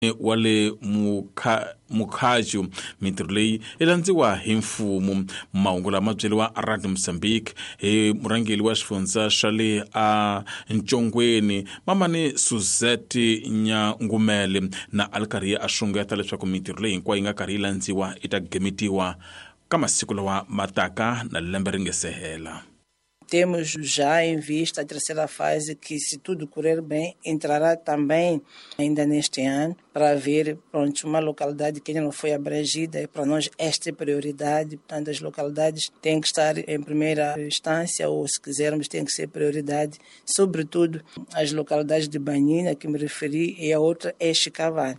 Wa le Mukhachu. Mintirho leyi yi landziwa hi mfumo. Mahungu lama byeriwa Radio Mozambique hi murhangeri wa xifundza xa le a Ntshongweni, Mamani Suzette Nyangumele, na a ri karhi a xungeta leswaku mintirho leyi hinkwayo yi nga karhi yi landziwa yi ta gemetiwa ka masiku lawa ma taka na lembe ri nge se hela. Temos já em vista a terceira fase, que, se tudo correr bem, entrará também ainda neste ano, para ver, pronto, uma localidade que ainda não foi abrangida, e para nós esta é prioridade. Portanto, as localidades têm que estar em primeira instância, ou, se quisermos, têm que ser prioridade, sobretudo as localidades de Banhine, que me referi, e a outra é Chicavane.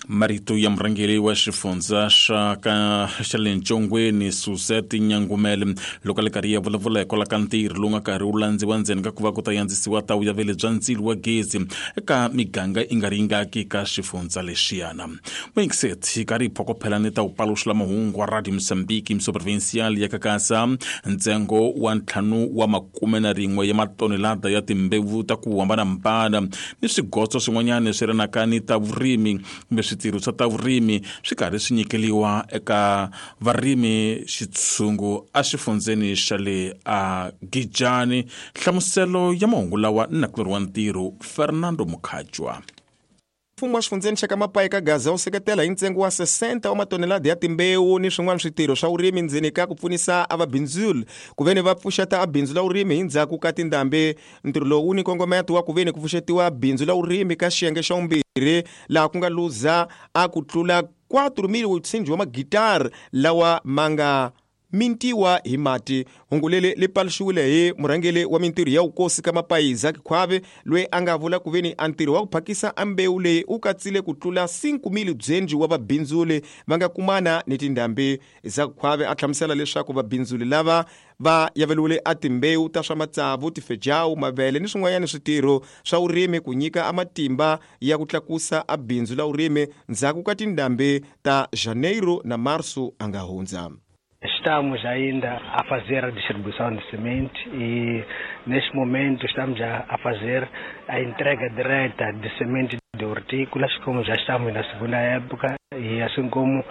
Marito ya murhangeri wa xifundza xa ka xa le Ntshongweni, Suzette Nyangumele, loko a le karhi ya vulavula hikwalaho ka ntirho lowu nga karhi wu landziwa ndzeni ka ku va ku ta yandzisiwa ta vuyaveli bya ndzilo wa gezi eka miganga yi nga ri yingaki ka xifundza lexiyana. Muyingiseti yi karhi yi phokophela ni ta wupaluxela mahungu wa Radio Mozambique mso provincial ya Kakasa. Ntsengo wa 51 ya matonelada ya timbewu ta ku hambanahambana ni swigotso swin'wanyana swi rinaka ni ta vurimi kumbe switirho swa ta vurimi swi karhi swi nyikeliwa eka varimi xitshungu exifundzeni xa le a Gijani. Nhlamuselo ya mahungu lawa ni nakulorhi wa ntirho Fernando Mukhajwa. Mfumo wa xifundzeni xa ka Mapayi ka Gaza wu seketela hi ntsengo wa 60 wa matonelada ya timbewu ni swin'wana switirho swa vurimi ndzeni ka ku pfunisa a vabindzuli ku veni va pfuxeta a bindzu la vurimi hi ndzhaku ka tindhambi. Ntirho lowu wu ni nkongometo wa ku veni ku pfuxetiwa bindzu la vurimi ka xiyenge xa vumbirhi laha ku nga luza a ku tlula 4,000 wa magitara lawa ma nga mintiwa hi mati. Hungu leri li paluxiwile hi murhangeri wa mintirho ya vukosi ka Mapayi, Zaki Khwavi, loyi a nga vula ku veni a ntirho wa ku phakisa a mbewu leyi wu katsile ku tlula 5,000 byenji wa vabindzuli va nga kumana ni tindhambi. Zaki Khwavi a hlamusela leswaku vabindzuli lava va yaveliwile a timbewu ta swa matsavu, tifejawu, mavele ni swin'wanyana switirho swa vurimi ku nyika a matimba ya ku tlakusa a bindzu la vurimi ndzhaku ka tindhambi ta Janeiro na Março a nga hundza. Estamos ainda a fazer a distribuição de semente e neste momento estamos a fazer a entrega direta de semente de hortícolas, como já estamos na segunda época, e assim como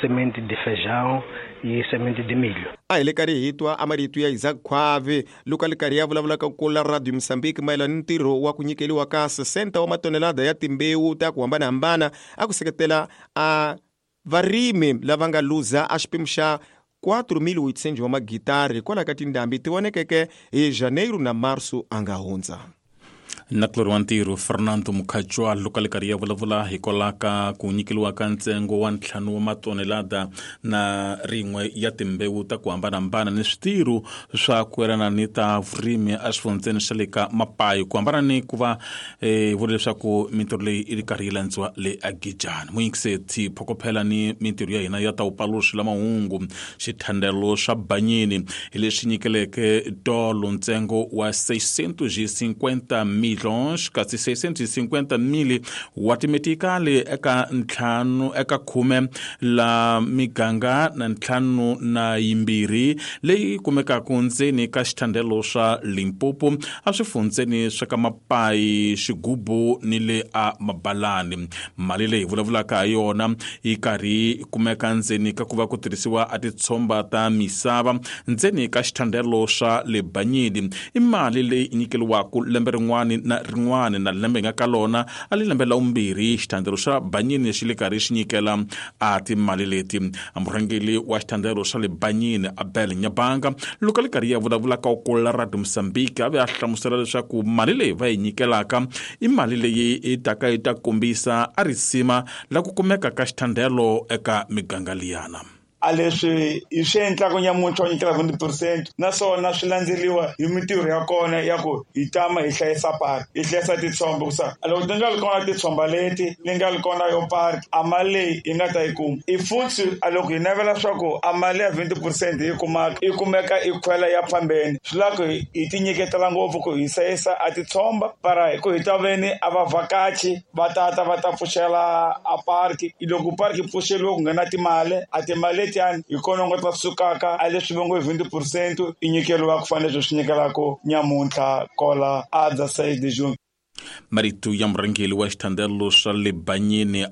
semente de feijão e semente de milho. A hi le karhi hi twa a marito ya Isaac Khwavi loko a le karhi ya vulavula ka kula Radio Mozambique mayelana ni ntirho wa ku nyikeliwa ka 60 wa matonelada ya timbewu ta ku hambanahambana a ku seketela a varimi lava nga luza a xipimo xa 4,800 wa magitari hikwalaho ka tindhambi ti vonekeke hi Janeiro na Março a nga hundza. Nakulorhi wa ntirho Fernando Mukhajwa loko a le karhi ya vulavula hikwalaho ka ku nyikeliwa ka ntsengo wa 5 wa matonelada na rin'we ya timbewu ta ku hambanahambana ni switirho swa ku yelana ni ta vurimi exifundzeni xa le ka Mapayi, ku hambana ni ku va vula leswaku mintirho leyi yi ri karhi yi landziwa le Agijani. Muyingiseti phokophela ni mintirho ya hina ya ta wupaluxi la mahungu. Xithandelo xa Banyini hi lexi nyikeleke tolo ntsengo wa 650 milhões, kasi 650 mil wa timetikali eka ntlhanu eka khume la miganga na ntlhanu na yimbirhi leyi kumekaka ndzeni ka xithandelo swa Limpopo a swifundzeni swa ka Mapayi, Xigubu ni le a Mabalani. Mali leyi vulavulaka ha yona yi karhi kumeka ndzeni ka ku va ku tirhisiwa a titshomba ta misava ndzeni ka xithandelo swa le Banyini. I mali leyi nyikeliwaka lembe rin'wana na rin'wana, na lembe nga ka lona a li lembe la vumbirhi xithandelo xa Banyini xi le karhi xi nyikela a timali leti. Murhangeri wa xithandelo xa le Banyini, Abel Nyabanga, loko a le karhi ya vulavula ka kula Radio Mozambique a ve a hlamusela leswaku mali leyi va yi nyikelaka i mali leyi yi taka yi ta kombisa a risima la ku kumeka ka xithandelo eka miganga liyana. A leswi hi swi endlaka nyamuntlha wa nyikela 20%, naswona swi landzeriwa hi mintirho ya kona ya ku hi tama hi hlayisa park, hi hlayisa titshomba, ku sa loko ti nga ri kona titshomba leti ni nga ri kona yo park, a mali leyi hi nga ta yi kuma i futhi. A loko hi navela swa ku a mali ya 20% hi kumaka yi kumeka i khwela ya phambeni, swi lava ku hi ti nyiketela ngopfu ku hi hlayisa a titshomba para ku hi ta veni a vavhakachi va tata va ta pfuxela a park. Loko park yi pfuxeriwe ku nghena timali, a timali letiyani hi kona u nga ta sukaka a leswi va ngo hi 20% i nyikeriwa ku fanele leswi swi nyikelaka nyamuntlha kola a dza 6 de juin. Marito ya murhangeri wa xithandelo swa le Banyini.